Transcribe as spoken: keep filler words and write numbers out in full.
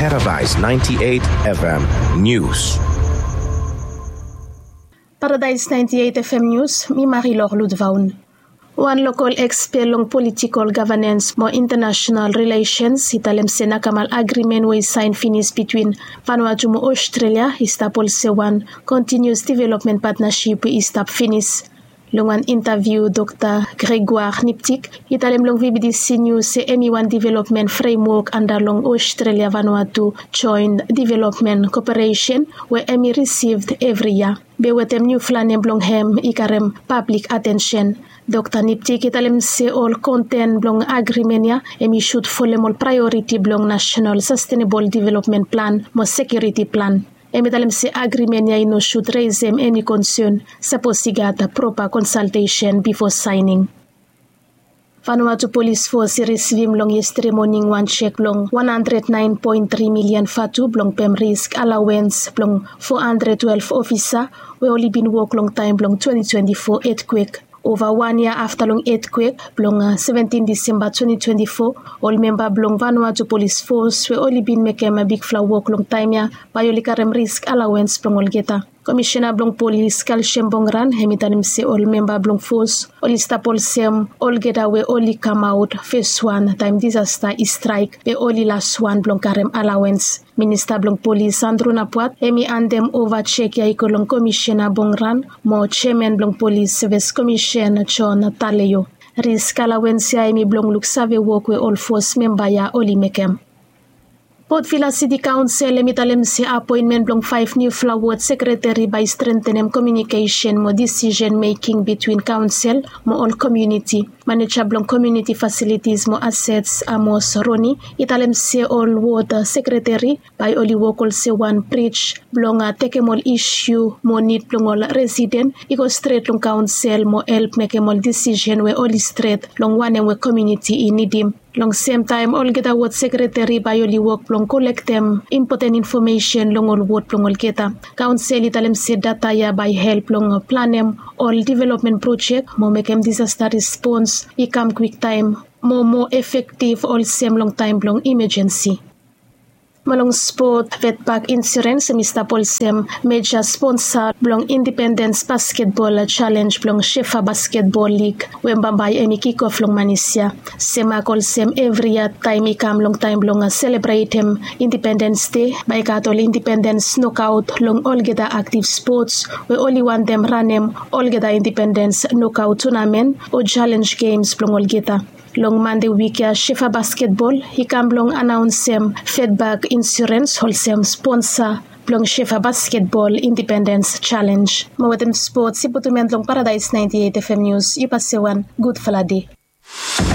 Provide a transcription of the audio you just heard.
Paradise ninety-eight F M News. Paradise ninety-eight F M News, mi Marilor Ludvaun. Wan lokol ekspet long politikol gavanens mo intanasenal rilesens i talem se nakamal agrimen we i saen finis bitwin Vanuatu mo Australia i stap olsem wan kontinius developmen patnasip we i stap finis. Long wan intaviu, Dokta Gregoire Niptik i talem long V B D C News se hemi wan developmen fremwok anda long Australia Vanuatu Joen Developmen Koperesen we hemi risivd evri yia. Be wetem niufala nem blong hem i karem pablik atensen. Dokta Niptik i talem se ol konten blong agrimen ya hemi sud folem ol praeoriti blong nasenal sastenebol developmen plan mo sekiuriti plan. Hemi talem se agrimen ya i no sud resem eni konsen sapos i gat propa konsaltesen bifo saening. Vanuatu Polis Fos i risivim long yestede moning wan sek blong wan handred naen poen tri milian vatu blong pem risk alawens blong fo handred twelef ofisa we oli bin wok long taem blong twenti twenti fo etkwek. Ova wan yia afta long etkwek blong seventin Disemba twenti twenti fo, ol memba blong Vanuatu Polis Fos we oli bin mekem bigfala wok long taem ya bae oli karem risk alawens blong olgeta. Komisena blong polis Kalsiam Bongran hemi talem se ol memba blong fos oli stap olsem olgeta we oli kamaot feswan taem disasta i straek be oli laswan blong karem alawens. Minista blong polis Andru Napuat hemi andem ova sek ya i go long Komisena Bongran mo jeaman blong polis seves komisen John Taleo. Risk alawens ya hemi blong luksave wok we ol fos memba ya oli mekem. Port Vila Siti Kaonsel hemi talem se apoenmen blong faef niufala wod sekreteri bae i strentenem komiunikesen mo disisen meking bitwin kaonsel mo ol komiuniti. Maneja blong komiuniti fasilitis mo asets Amos Roni i talem se ol wod sekreteri bae oli wok olsem wan brij blong tekem ol isiu mo nid blong ol residen i go stret long kaonsel mo help mekem ol disisen we oli stret long wanem we komiuniti i nidim. Long semtaem olgeta wod sekreteri bae oli wok blong kolektem impoten infomesen long ol wod blong olgeta. Kaonsel i talem se data ya bae help long planem ol developmen projek mo mekem disasta respons i kam kwiktaem mo moa efektiv olsem long taem blong imajensi. Mo long spot, Vetbak Insurens hemi stap olsem meja sponsa blong Indipendens Basketbol Jalenj blong Shefa Basketbol Lig we bambae hemi kikof long manis ya. Semak olsem evri yia taem i kam long taem blong selebretem Indipendens Dei bae i gat ol indipendens nokaot long olgeta aktiv spots we oli wantem ranem olgeta indipendens nokaot tunamen o jalenj gems blong olgeta. Long Mande wik ya Shefa Basketbol i kam blong anaonsem Vetbak Insurens olsem sponsa blong Shefa Basketbol Indipendens Jalenj. Mo wetem spots i putum en long Paradise ninety-eight F M News, yu pase wan gudfala dei.